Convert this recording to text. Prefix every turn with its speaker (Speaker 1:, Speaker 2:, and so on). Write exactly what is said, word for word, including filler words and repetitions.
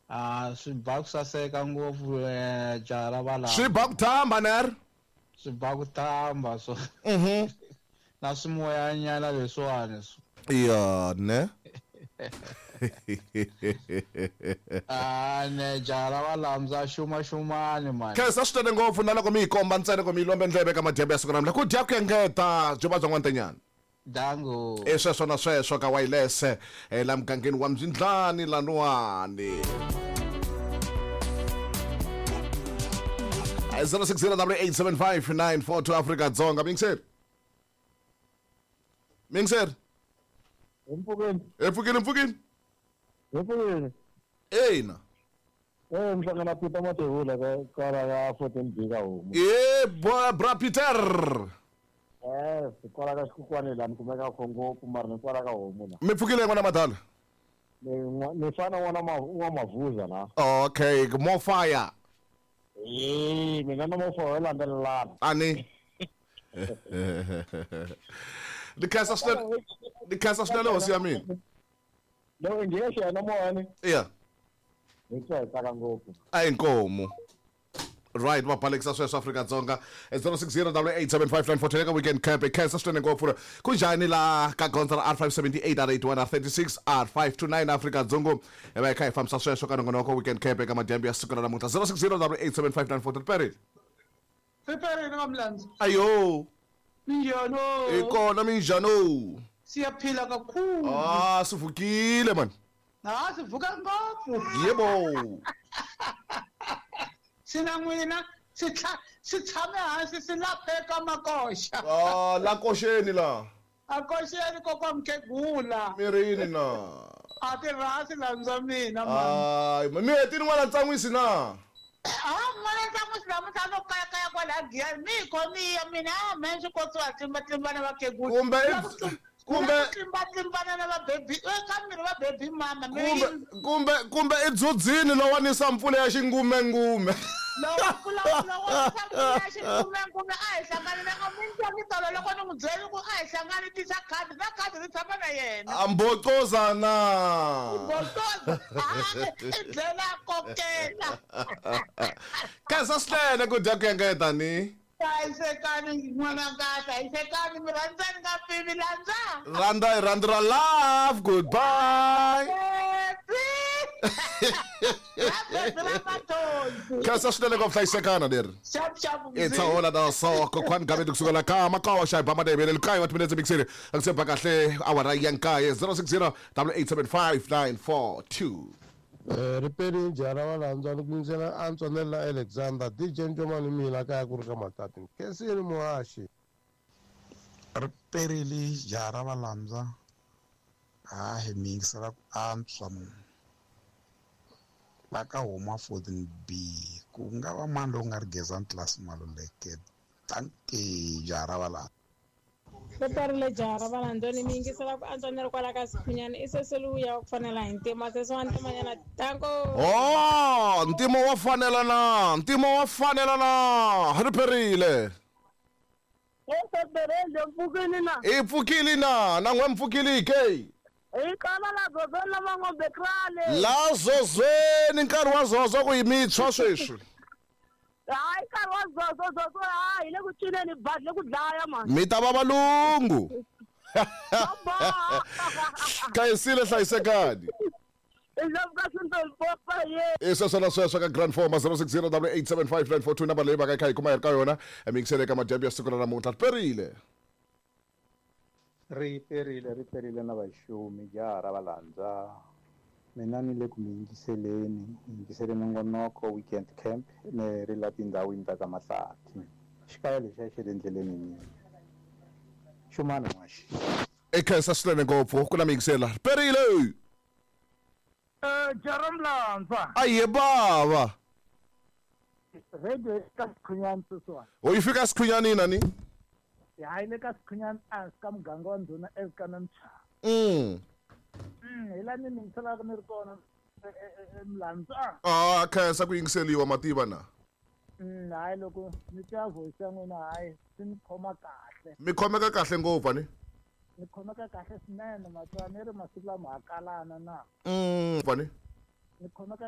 Speaker 1: Ah, swi ba ku saseka ngopfu eh jaha ra valava.
Speaker 2: Swi ba ku thamba ner?
Speaker 1: Swi ba ku thamba so.
Speaker 2: Mhm.
Speaker 1: Na swimoyanyana leswiwani swo.
Speaker 2: Ya ne.
Speaker 1: Ah, ne jaha ra valamza xuma xumani mani.
Speaker 2: Khensa swinene ngopfu na loko mi yi komba ntsena ku mi yi lombe ndleve ka madyambu ya siku ra namuntlha. Ku dya ku engeta byo va bya n'wantenyana.
Speaker 1: Dango.
Speaker 2: E sweswo na sweswo ka wireless eh, la mugangeni wa Mzindlani laniwani. zero six zero eight seven five nine four two Afrika Dzonga. Mingiseri. Mingiseri.
Speaker 3: Mpfukeni.
Speaker 2: Mpfukeni mpfukeni.
Speaker 3: Mpfukeni.
Speaker 2: Ina.
Speaker 3: Eh mhlangana Peter Matevula ka kwala ka fourteen B ka homu.
Speaker 2: Eh bra Peter.
Speaker 3: Eh kwala ka xikukwane la ni kumeka ngopfu mara ni kwala ka homu la.
Speaker 2: Mi pfukile n'wana madala?
Speaker 3: Ni ni fana n'wana wa mavuza la.
Speaker 2: Okay, more fire.
Speaker 3: Eh mina na mo fire landzelelana.
Speaker 2: Ani. Ni khensa swinene. Ni khensa swinene hosi ya mina.
Speaker 3: Loko ngiye xana moyani.
Speaker 2: Yeah.
Speaker 3: Ni twa hi tsaka ngopfu.
Speaker 2: A inkomu. Right, va balekisa sweswo Afrika Dzonga zero six zero eight seven five nine four two ka weekend camp. Khensa swinene ngopfu. Kunjhani la ka gondzo ra R five seven eight R eight one R thirty six R five two nine Afrika Dzonga. Hi va hi kha hi fambisa sweswo ka nongonoko weekend camp eka madyambu ya siku ra namuntlha zero six zero eight seven five nine four two. Riperile.
Speaker 4: Riperile kamlandzi.
Speaker 2: Ayo.
Speaker 4: Minjhano.
Speaker 2: Ikona minjhano.
Speaker 4: Siyaphila kakhulu.
Speaker 2: Ah, sivukile man.
Speaker 4: Ah, sivuka ngopfu.
Speaker 2: Yebo.
Speaker 4: Sina n'wina si si tshame hansi si lapheka makoxa.
Speaker 2: Ah, la koxeni la.
Speaker 4: A koxeni kokwa mkhegula.
Speaker 2: Mirini na.
Speaker 4: A ti rhasi landza mina man.
Speaker 2: Ay, mi hetini n'wana ntsan'wisi na.
Speaker 4: Ah, n'wana ntsan'wisi namuntlha no kaya kaya kwala Giyani. Mi khomiya mina a me swi kotsiwa tlimbatlimbana vakhegula.
Speaker 2: Kumbe kumbe
Speaker 4: tlimbatlimbana na vabebi eka miri va baby mama.
Speaker 2: Kumbe kumbe kumbe i dzudzini lowanisa mpfula ya xingumengume.
Speaker 4: Lowa mpfula lowanisa mpfula ya xingumengume a hi hlangani na a mi ntwangi tolo loko ni n'wi byeli ku a hi hlangani tisa khadi na khadi ri tshama na yena.
Speaker 2: Ambocoza na.
Speaker 4: Mbocoza. I dlela kokela.
Speaker 2: Khensa swinene ku dya ku engeta ni.
Speaker 4: Hlayisekani n'wananga, hlayisekani mi rhandzani nga pimi landza.
Speaker 2: Rhandza hi rhandzu ra love, goodbye. Khensa swinene ku hlayisekana leri.
Speaker 4: Xap xap.
Speaker 2: It's all na so kokwani gabe kusuka la ka makawa xa ba madebele likayi wa timinetse mixere akusemba kahle awara ya nkaye zero six zero eight seven five nine four two.
Speaker 5: Riperile jaha ra valandza ni ku yingisela antswa ni la Alexander D J Ncomani mina kaya ku ri ka Matati. Khensile muhaxi.
Speaker 6: Riperile jaha ra valandza ha hi mi yingisela ku antswa la ka huma fourteen B ku nga va mani lowu nga ri Gezani Class Maluleke. Dankie jaha ra valandza.
Speaker 7: Riperile jaha ra valandza ni mi yingisela ku antswa ni ri kwala ka Sikhunyana i seseliya wa ku fanela hi ntima sesi wa ntimanyana tanko.
Speaker 2: Oh, ntimo wa fanela na ntimo wa fanela na riperile.
Speaker 8: Mpfukile na.
Speaker 2: I pfukile na na n'we mpfukile ke.
Speaker 8: I kala la zozweni la mangombe krale.
Speaker 2: La zozweni nkarhi wa zozo ku yi mitshwa sweswi.
Speaker 8: Hayi nkarhi wa zozo zozo hayi le ku cineni badi le ku dlaya mani.
Speaker 2: Mi ta va valungu. Khayisile hlayisekani. I sweswo na sweswo ka Grand Forma zero six zero eight seven five nine four two number leyi va ka yi kha yi kuma hi ri ka yona mixele ka madyambu ya siku ra namuntlha. Riperile.
Speaker 9: Riperile riperile na vaxumi jaha ra valandza. Mina ni le ku mi yingiseleni yingisele nongonoko weekend camp ni ri la tindhawini ta ka Mahlathi. Xikaya lexiya xi ri endleleni mina. Xumana n'waxi.
Speaker 2: I khensa swinene ngopfu ku na mi yingisela. Riperile.
Speaker 8: Eh jaha mlandza.
Speaker 2: Aye bava.
Speaker 8: Radio ka Sikhunyani sweswiwani.
Speaker 2: O yi fika Sikhunyani na ni?
Speaker 8: Hayi le ka Sikhunyani a ka muganga wa ndhuna eka Mchava.
Speaker 2: Mm.
Speaker 8: Mm, hi la ni mi yingiselaka ni ri kona mlandza.
Speaker 2: Ah, khensa ku yingiseliwa mativa na.
Speaker 8: Mm, hayi loko ni twa voice ya n'wina hayi swi ni khoma kahle.
Speaker 2: Mi khomeka kahle ngopfu ni?
Speaker 8: Ni khomeka kahle swinene matwa ni ri masiku lama ha kalana na.
Speaker 2: Mm, ni?
Speaker 8: Ni khomeka